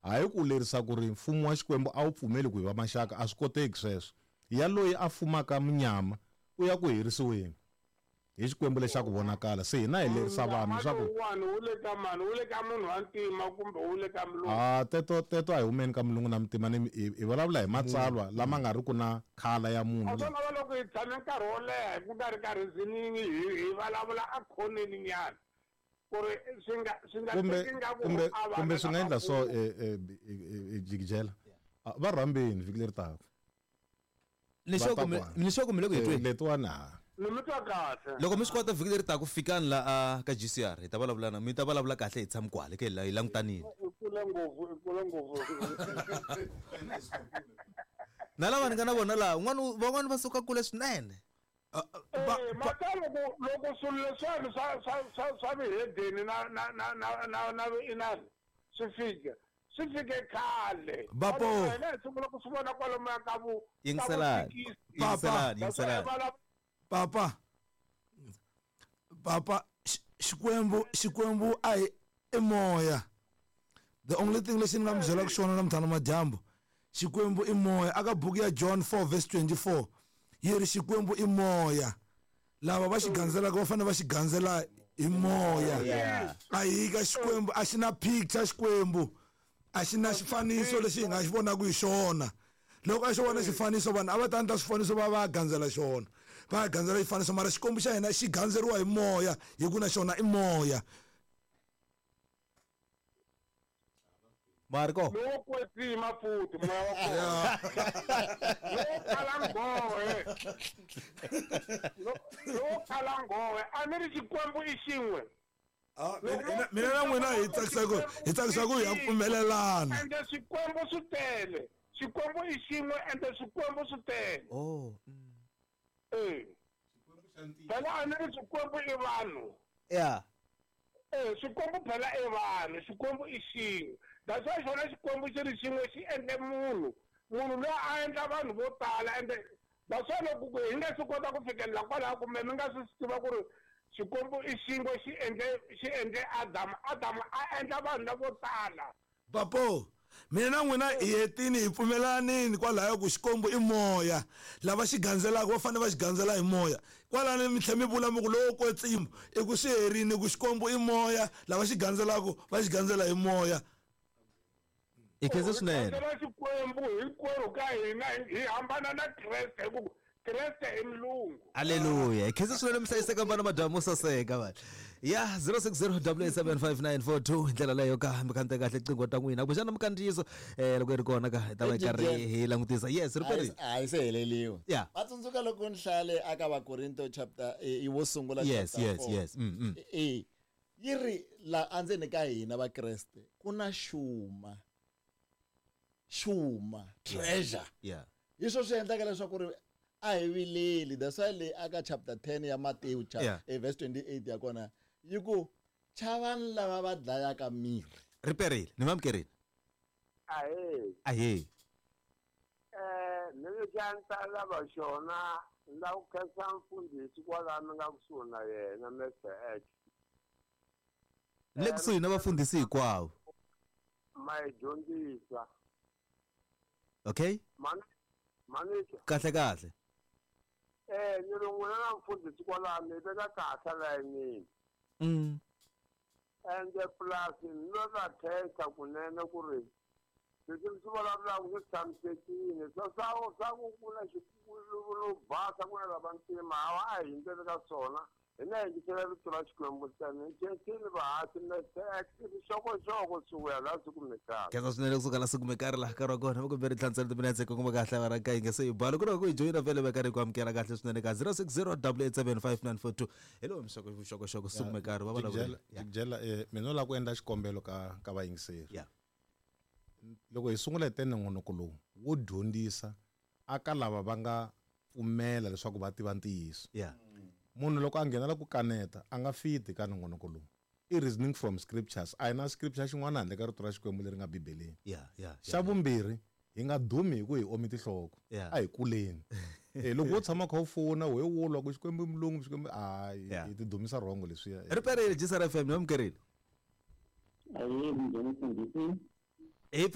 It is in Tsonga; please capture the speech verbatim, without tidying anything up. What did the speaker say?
Hayi ku lerisa ku ri mfumo wa Xikwembu a wu pfumeli ku hi va maxaka, a swi koteki sweswo. Ya loyi a fumaka munyama u ya ku herisiweni hi Xikwembu lexi ku vonakala. Se hina hi lerisa vanhu leswaku wun'wana wu le ka mani, wu le ka munhu wa ntima kumbe wu le ka mulungu? Ah, teto teto a hi humeni ka mulungu na muntima, ni hi vulavula hi matsalwa lama nga ri ku na khala ya munhu. A swi lava loko hi tshame nkarhi wo leha hi ku nga ri ka reasoning, hi hi vulavula a khoneni nyana ku ri swi nga swi nga kumbe teki nga ku kumbe a va kumbe na swi nga endla so mafurha. eh, eh, jikijela va rhambeni vhiki leri taka. Ni xo ku mi ni xo ku mi le ku hi tweni. Letiwani ha. Ni mi twa kahle. Loko mi swi kota vhiki leri taka fikani la a ka G C R, hi ta vulavula na mi ta vulavula kahle hi tshami kwale ke hi langutanile. I kule ngopfu, i kule ngopfu. Na lava ni nga na vona laha, un'wana van'wana va suka kule swinene. Eh, mata loko loko swilo leswiwani swa swa swa swa vihedeni na na na na na na inani swi fika. Swi fike khale. Bapo. Hina hi sungula ku swi vona kwalomuya ka vu Yingiselani. Yingiselani, yingiselani. Papa. Papa, Xikwembu, Xikwembu a hi i moya. The only thing lexi ni nga mi byelaka xona namuntlha madyambu, Xikwembu i moya. Aka buku ya John four verse twenty-four yi ri Xikwembu i moya. Lava va xi gandzelaka va fanele va xi gandzela hi moya. A hi ka Xikwembu, a xi na picture Xikwembu. A xi na xifaniso lexi hi nga xi vonaka hi xona. Loko a xi vona xifaniso vanhu a va ta endla swifaniso va va gandzela xona. Va gandzela xifaniso, mara Xikwembu xa hina xi gandzeriwa hi moya, hi ku na xona i moya. Marco. Lowo kwetsima futhi moya wa kona. Lowo kala nghohe. Lowo kala nghohe, a ni ri Xikwembu i xin'we. Ah, mina na n'wina hi tsakisa ku hi tsakisa ku hi ya pfumelelana. Ende Xikwembu swi tele. Xikwembu i xin'we ende Xikwembu swi tele. Oh. Eh. Phela a ni ri Xikwembu i vanhu. Yeah. Eh, Xikwembu phela i vanhu, Xikwembu i xin'we. That's why xona Xikwembu xi ri xin'we xi endle munhu. Munhu loyi a endla vanhu vo tala ende that's why loko hi nga swi kota ku fikelela kwalaho kumbe mi nga swi tiva ku ri Xikwembu i xin'we xi endle xi endle Adamu, Adamu a endla vanhu lavo tala. Papo, mina na n'wina hi hetini hi pfumelanini kwalaya ku Xikwembu i moya. Lava xi gandzelaka va fanele va xi gandzela hi moya. Kwalani mi tlhe mi vula mi ku lowo kwetsima i ku swi herini ku Xikwembu i moya, lava xi gandzelaka va xi gandzela hi moya. I khensa swinene. Gandzela Xikwembu hinkwerhu ka hina hi hambana na Kreste hi ku Kreste i mulungu. Hallelujah. I khensa swinene mi hlayiseka vana madyambu saseka vanhu. Ya zero six zero double eight seven five nine four two hi ndlela leyo ka mi khante kahle qingho ta n'wina. Kumbexana mikandziyiso eh loko yi ri kona ka hi ta va hi karhi hi langutisa. Yes, ri A yi se heleliwa. Yeah. Va tsundzuka loko ni hlale aka Vakorinto chapter i wo sungula Yes, chapter yes, four. yes. Mm, mm. E yi ri la andzeni ka hina Vakreste ku na xuma. Xuma, treasure. Yeah. Hi swo swi endlaka leswaku ri a hi vileli. That's why le aka chapter ten ya Matewu Yeah. eh, verse twenty-eight ya kona yi ku chavani lava va dlayaka miri. Ri perile, ni mamukerile. Ahee. Ahee. Eh, ni ri xa lava xona la ku khensa mfundhisi kwalano nga kusuhi na yena Mister X. Ni le kusuhi na vafundhisi hinkwavo. Ma hi dyondzisa. Okay? Mani mani Kahle kahle. Eh, ni ri n'wina na mfundhisi kwalano hi veka kahle layinini. Mm. Ende plus ni lo ra khensa kunene ku ri leswi mi swi vulavulaka swi tshamisekile. Swa swa swa ku ku na xikulu basa ku na lava ntima hawa a hi hundzeli ka swona. Hina hi yingisela rito ra Xikwembu ntsena. Hi khensile vahasi Mister X vuxokoxoko swi vuya laha swi kumekaka. Khensa swinene kusuka laha swi kumekaka laha nkarhi wa kona. Va kombela tlhansela timinetse ku kuma kahle va ra ka yi nga se yi bala. Ku ri ku hi joyina vhele va karhi ku amukela kahle swinene ka zero six zero double eight seven five nine four two. Hi lowu mixoko vuxokoxoko swi kumekaka va vulavula. Jikijela, eh, mina no lava ku endla xikombelo ka ka vayingiseri. Yeah. Loko hi sungula hi tene nongonoko lowu wo dyondzisa aka lava va nga pfumela leswaku va tiva ntiyiso. Yeah. Munhu loko a nghenela ku kaneta a nga fiti ka nongonoko lowu. I reasoning from scriptures. A hi na scripture xin'wana handle ka rito ra Xikwembu leri nga Bibeleni. Yeah, yeah, yeah. Xa vumbirhi, hi nga dumi hi ku hi omi tinhloko. Yeah. A hi kuleni. Eh, loko wo tshama kha u fona, we wulwa ku Xikwembu i mulungu, Xikwembu, a hi ti dumisa wrong leswiya. Ri perile G C R F M, ni amukerile. Ahee, minjhani mfundhisi?